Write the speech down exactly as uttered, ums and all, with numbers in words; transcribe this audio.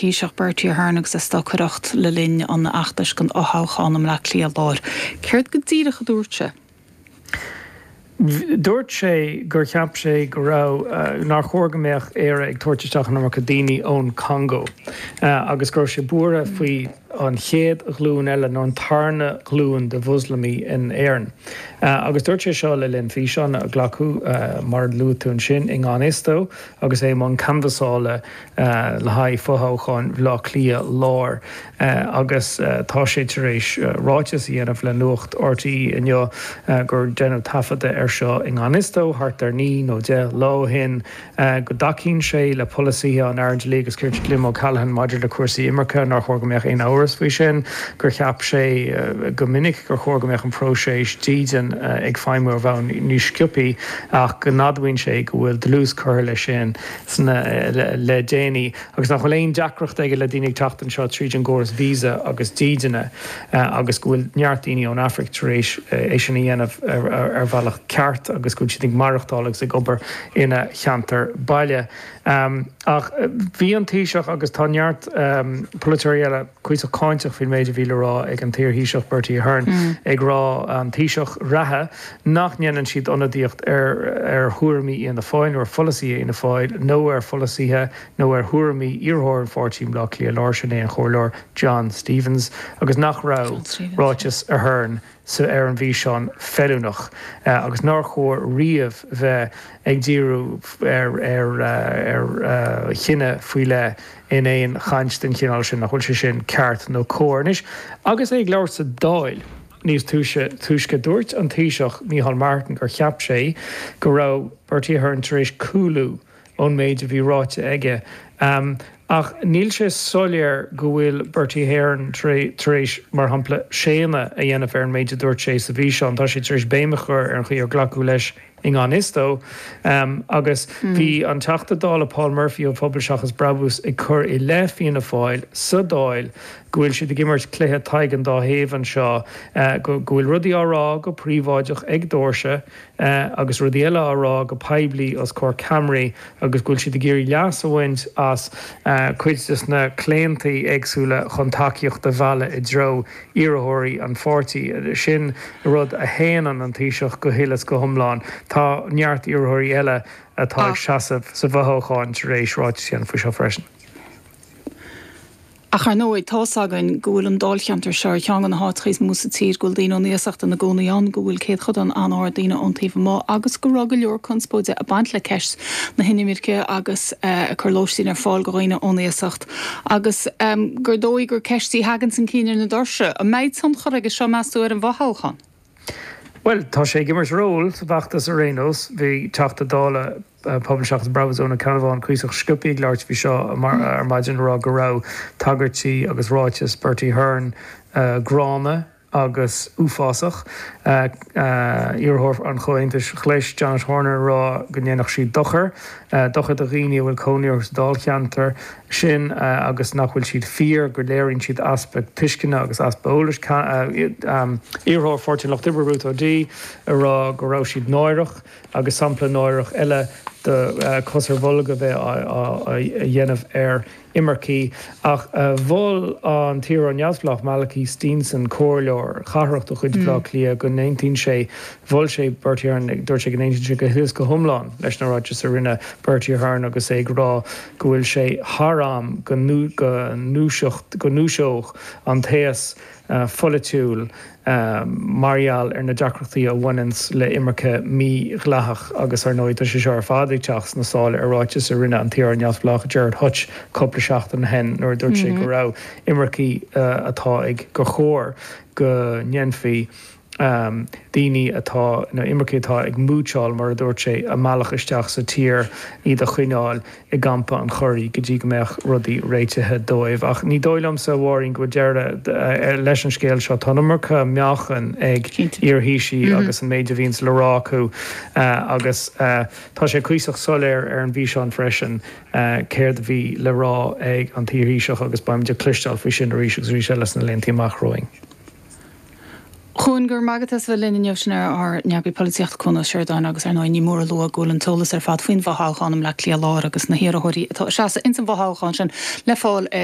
Taoiseach Bertie Ahern agus é ag stocaireacht le linn an fheachtais don fhothoghchán i mBleá Cliath Láir. Céard go díreach a dúirt sé? Dúirt sé gur cheap sé go raibh uh, nár chóir go mbeadh Éire ag tabhairt isteach an iomarca daoine ón Congo uh, agus go raibh sé buartha faoi an chéad ghlúin eile nó an tarna glúin de Mhoslamaigh in Éirinn. Uh, agus dúirt sé seo le linn físeán a glacadh uh, mar luaigh tú ansin i ngan fhios dó agus é i mbun canbhasála uh, le haghaidh fothoghchán Bhaile Átha Cliath Láir uh, agus uh, tá sé tar éis uh, ráiteas a dhéanamh le Nuacht R T É inniu uh, gur deineadh taifeadadh ar seo i ngan fhios dó thart ar naoi nó deich lá ó shin uh, go dtacaíonn sé le polasaithe an Aire Dlí agus Cirt Jim O'Callaghan maidir le cúrsaí imirce, nár chóir go mbeadh aon amhras faoi sin, gur cheap sé uh, go minic gur chóir go mbeadh an próiseas dídean uh, ag feidhmiú ar bhonn níos sciobtha ach go n-admhaíonn sé go bhfuil dlús curtha leis sin sna le, le déanaí agus nach bhfuil aon deacracht aige le daoine teacht anseo tríd an gcóras visa agus dídine uh, agus go bhfuil neart daoine ón Afraic tar éis é sin a dhéanamh ar, ar, ar bhealach ceart agus go bhfuil siad ag maireachtáil agus ag obair ina cheantar baile. Um, ach bhí an Taoiseach agus tá neart um, polaiteoirí eile cuíosach cáinteach faoin méid a bhí le rá ag an t-iar-Thaoiseach Bertie Ahern mm. ag rá an Taoiseach reatha nach ndéanann siad ionadaíocht ar ar thuairimí Fhianna Fáil nó ar pholasaí Fhianna Fáil nó ar pholasaithe nó ar thuairimí iarrthóir an pháirtí Bleá Cliath Láir, sin é an comhairleoir John Stevens, agus nach raibh ráiteas Ahern sa ar an bhfíseán feiliúnach uh, agus nár chóir riamh bheith ag díriú ar ar ar uh, chine faoi leith in aon chaint den chineál sin, nach bhfuil sé sin ceart nó cóir. Anois agus é ag labhairt sa Dáil níos túisce túisce dúirt an Taoiseach Micheál Martin gur cheap sé go raibh Bertie Ahern tar éis cúlú ón méid a bhí ráite aige. Um, ach níl sé soiléir go bhfuil Bertie Ahern tar éis mar shampla séanadh a dhéanamh ar an méid a dúirt sé sa bhfíseán, tá sé tar éis béim a chur ar an chaoi ar glacadh leis i ngan fhios dó um, agus mm. bhí an Teachta Dála Paul Murphy ó Pobal Seachas Brabús ag cur i leith Fianna Fáil sa Dáil go bhfuil siad ag imirt cluiche Tadhg an Dá Thaobh anseo uh, go bhfuil rudaí á rá go príobháideach ag doirse uh, agus rudaí eile á rá go poiblí os comhair ceamaraí agus go bhfuil siad ag iarraidh leas a bhaint as uh, cuid de na claontaí éagsúla chun tacaíocht a mhealladh i dtreo iarrthóirí an pháirtí. Sin rud a shéanann an Taoiseach go huile is go hiomlán. Tá neart iarrthóirí eile atá ag seasamh sa bhfothoghchán tar éis ráiteas a dhéanamh faoi seo freisin. Ach ar ndóigh tá againn go bhfuil an dáilcheantar seo ceann de na háiteacha is mó sa tír go bhfuil daoine ón iasacht ina gcónaí ann, go bhfuil céatadán an-ard daoine ón taobh amuigh agus go raibh go leor conspóide ag baint le ceist na hinimirce agus uh, a chur lóistín ar fáil do dhaoine ón iasacht. Agus um, gur dóigh gur ceist í a thagann chun cinn ar na doirse, an mbeidh tionchar aige seo meas tú ar an bhfothoghchán. Well, tá sé ag imirt ról sa bhfeachtas ar aon nós. Bhí Teachta Dála uh, Pobal Seachas Brabús Eoin Ó Ceannabháin cuíosach sciobtha ag labhairt faoi seo mar ar maidin, rá go raibh tagairtí agus ráiteas Bertie Ahern uh, gránna agus uafásach. uh, uh, iarrthóir an Chomhaontais Ghlais Janet Horner rá go ndéanfadh sí dochar uh, dochar do dhaoine a bhfuil cónaí orthu sa dáilcheantar sin uh, agus nach bhfuil siad fíor, go léiríonn siad easpa tuisceana agus easpa eolais. uh, um, iarrthóir Pháirtí an Lucht Oibre Ruth O'Dea a rá go raibh siad náireach agus sampla náireach eile de uh, cos ar bholg a bheith á dhéanamh ar imircigh. Ach uh, mhol an t-iarrthóir neamhspleách Malachy Steenson, comhairleoir cathrach de chuid Bhaile Átha Cliath, go n-aontaíonn sé, mhol sé Bertie Ahern, dúirt sé go n-aontaíonn sé go huile is go hiomlán leis na ráitis a rinne Bertie Ahern agus é ag rá go bhfuil sé thar am go go ndúiseocht go ndúiseodh an t-aos uh, pholaitiúil um, mar gheall ar na deacrachtaí a bhaineann le imirce mhídhleathach. Agus ar ndóigh tá sé seo ar fad ag teacht sna sála ar ráiteas a rinne an t-iarrthóir neamhspleách Gerard Hutch cúpla seachtain ó shin nuair dúirt sé mm -hmm. go raibh imircigh uh, atá ag gur chóir go ndéanfaí um, daoine atá na imircigh atá ag múcháil, mar a dúirt sé, a mbealach isteach sa tír, iad a choinneáil i gCampa an Churraigh go dtí go mbeadh rudaí réitithe dóibh. Ach ní dóigh liomsa, a Mháirín, go deireadh leis an scéal seo. Tá an iomarca meáchan ag iar-Thaoisigh mm -hmm. agus an méid a bhíonns le rá acu uh, agus uh, tá sé cuíosach soiléir ar an bhfíseán freisin uh, céard a bhí le rá ag an t-iar-Thaoiseach agus beimid ag cloisteáil faoi sin arís agus arís eile sna laethanta amach romhainn. Chuan gur magatas bhe linn inniu sin ar ár n-eagraí polaitíochta Cuan Ó Seireadáin. Agus ar ndóigh ní mór a lua go bhfuil an t-eolas ar fad faoin bhfothoghchán i mBleá Cliath Láir agus na hiarrthóirí atá ag seasamh ins an bhfothoghchán sin le fáil ar